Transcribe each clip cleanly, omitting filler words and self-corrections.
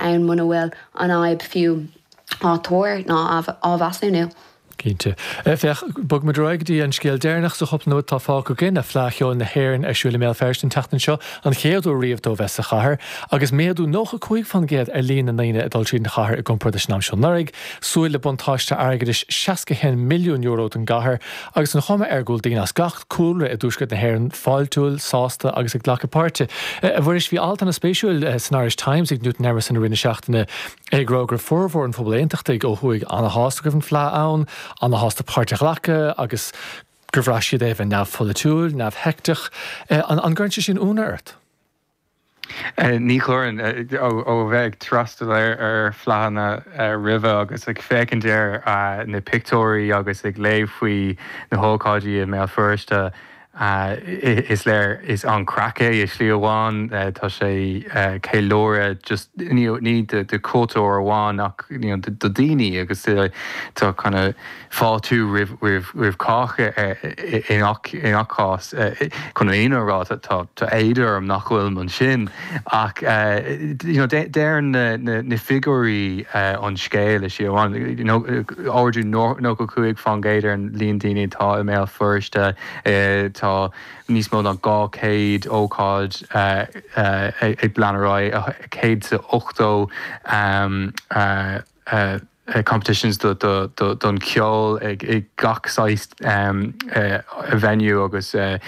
ann muna bhfuil an fhadhb fiú á tuar ná á mheasúnú. Cinnte. Féach, bogfaimid ar aghaidh go dtí an scéal deireanach sa chúpla nóiméad atá fágtha againn, Fleadh Cheoil na hÉireann ar siúl i mBéal Feirste an tseachtain seo, an chéad uair riamh dó bheith sa chathair, agus méadú 95% ar líon na ndaoine ag dul tríd an chathair i gcomparáid leis an am seo anuraidh. Súil le buntáiste airgeadais €61 milliún don gcathair, agus an chuma air go bhfuil daoine as gach cúlra i dtuaisceart na hÉireann fáiltiúil, sásta agus ag glacadh páirte. A Mhuiris, bhí alt ana-spéisiúil san Irish Times ag Newton Emerson i rith na seachtaine, É ag rá go raibh formhór an phobail aontachtaigh ó thuaidh ana-shásta go raibh an Fleadh ann, ana-shásta páirt a ghlacadh agus gur bhraith siad é a bheith neamhpholaitiúil, neamhsheicteach. An gcuireann sé sin ionadh ort? Ní chuireann. Ó bheith ag freastal ar fleadhanna roimhe agus ag féachaint ar na pictiúirí agus ag léamh faoi na hócáidí i mBéal Feirste, Is léir, is an-chraic é i slí amháin. Tá sé ceiliúradh just ní do chultúr amháin ach do daoine agus tá kind of fáiltiú roimh chách i ngach cás. Chun an fhírinne a rá tá éad orm nach bhfuilim ansin ach you know deireann na figiúirí an scéal i slí amháin. Ardú 95% ar an líon daoine atá i mBéal Feirste. Tá níos mó ná 200 ócáid ag lean ar aghaidh, 180 competitions don cheol ag gach saghas venue agus teach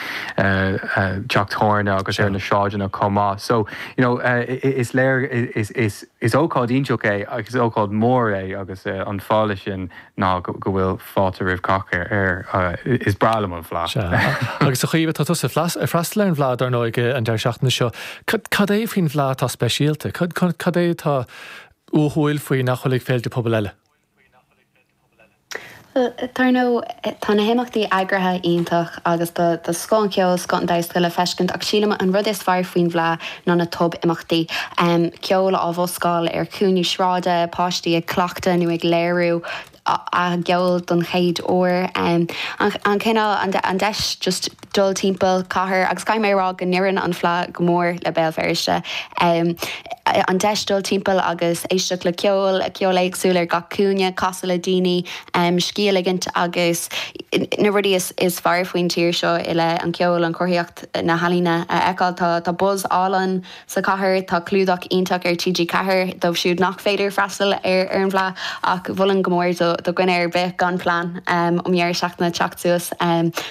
tábhairne agus ar na sráideanna chomh maith. So, you know, is léir, is ócáid iontach é agus is ócáid mhór é agus an fáth leis sin ná go bhfuil fáilte roimh cách air. Is breá liom an Fleadh. Sea. Agus a Chaoimhe, tá tusa ag freastal ar an bhFleadh, dar ndóigh, an deireadh seachtaine seo. Cad é faoin bhFleadh atá speisialta? Cad é atá uathúil faoi nach bhfuil ag féilte pobail eile? Bhuel, dar ndóigh, tá na himeachtaí eagraithe iontach agus tá scoth an cheoil, scoth an damhsa le feiscint ach sílim an rud is fearr faoin bhFleadh ná na tob-imeachtaí. Ceol á bhoscáil ar chúinní sráide, páistí ag cleachtadh nó ag léiriú a gceol don chéad uair. An cineál, an deis just dul timpeall cathair, agus caithfidh mé a rá go n-oireann an Fleadh go mór le Béal Feirste. An deis dul timpeall agus éisteacht le ceol, ceol éagsúil ar gach cúinne, casadh le daoine, scíth a ligint agus na rudaí is fearr faoin tír seo i leith an ceoil, an chruthaíocht, na healaíona a fheiceáil. Tá buzz álainn sa chathair, tá clúdach iontach ar TG4 dóibh siúd nach féidir freastal ar an bhFleadh ach mholfainn go mór do dhuine ar bith gan plean um dheireadh seachtaine teacht suas.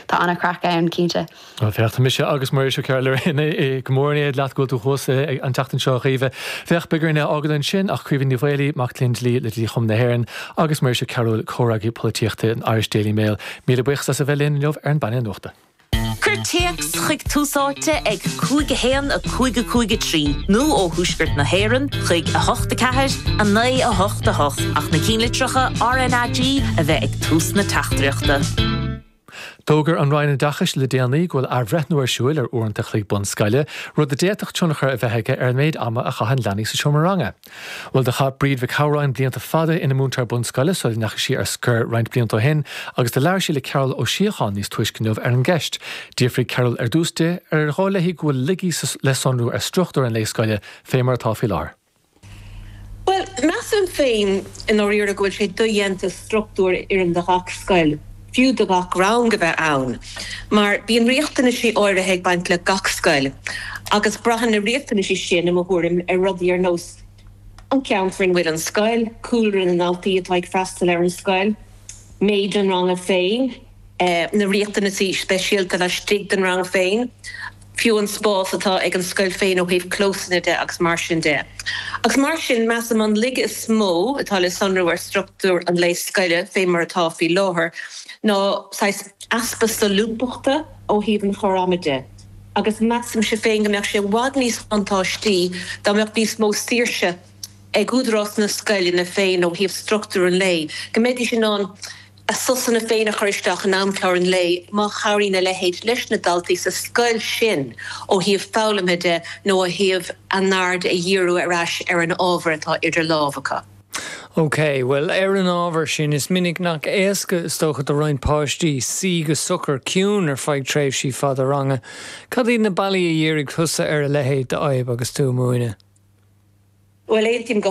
Tá an-chraic ann, cinnte. Bhuel, féach, tá mise agus Muiris Ó Cearúil go mór in éad leat go bhfuil tú thuas an tseachtain seo, a Chaoimhe. Féach, beidh orainn é a fhágáil ansin ach Caoimhe Ní Mhaolaí, mac léinn dlí le Dlí-Chumann na hÉireann, agus Muiris Ó Cearúil, comhfhreagraí polaitíochta an Irish Daily Mail, míle buíochas as a bheith linn inniu ar an bpainéal nuachta. Cuir téacs chuig Tús Áite ag 5 1 5 5 3 nó ó Thuaisceart na hÉireann chuig 8 4 9 8 8 ach na cinnlitreacha RnaG a bheith ag tús na teachtaireachta. D'fhógair an Roinn Oideachais le déanaí go bhfuil athbhreithniú ar siúil ar uaireanta an chloig bunscoile, rud a d'fhéadfadh tionchar a bheith aige ar an méid ama a chaitheann leanaí sa seomra ranga. Bhuel, do chaith Bríd Mhic Shamhráin blianta fada ina múinteoir bunscoile sula ndeachaigh sí ar scor roinnt blianta ó shin agus do labhair sí le Cearbhall Ó Síocháin níos túisce inniu ar an gceist. D'fhiafraigh Cearbhall ar dtús di ar dhóigh léi go bhfuil laigí le sonrú ar struchtúr an lae scoile fé mar atá faoi láthair. Bhuel, measaim féin i ndáiríre go bhfuil sé dodhéanta struchtúr a oireann do ghach scoil, fiú do ghach rang, a bheith ann, mar bíonn riachtanaisí áirithe ag baint le gach scoil agus braitheann na riachtanaisí sin, i mo thuairim, ar rudaí ar nós an ceantar ina bhfuil an scoil, cúlra na ndaltaí atá ag freastal ar an scoil, méid an ranga féin, na riachtanaisí speisialta laistigh den rang féin. fiú an spás atá ag an scoil féin ó thaobh clósanna de agus mar sin de. Agus mar sin, measaim an laige is mó atá le sonrú ar struchtúr an lae scoile fé mar atá faoi láthair ná saghas easpa solúbthachta ó thaobh an chur ama de. Agus measaimse féin go mbeadh sé i bhfad níos buntáistí dá mbeadh níos mó saoirse ag údarás na scoileanna féin ó thaobh struchtúr an lae, go mbeidís in ann a sosanna féin a chur isteach in amchlár an lae má chabhraíonn a leithéid leis na daltaí sa scoil sin ó thaobh foghlamtha de nó ó thaobh a n-aird a dhíriú ar ais ar an ábhar atá idir lámh acu. OK, bhuel, ar an ábhar sin, is minic nach éasca, is dócha, do roinnt páistí suí go socair ciúin ar feadh tréimhsí fada ranga. Cad iad na bealaí a dhírigh tusa ar a leithéid d'fhadhb agus tú ag múineadh? Bhuel, aontaím go.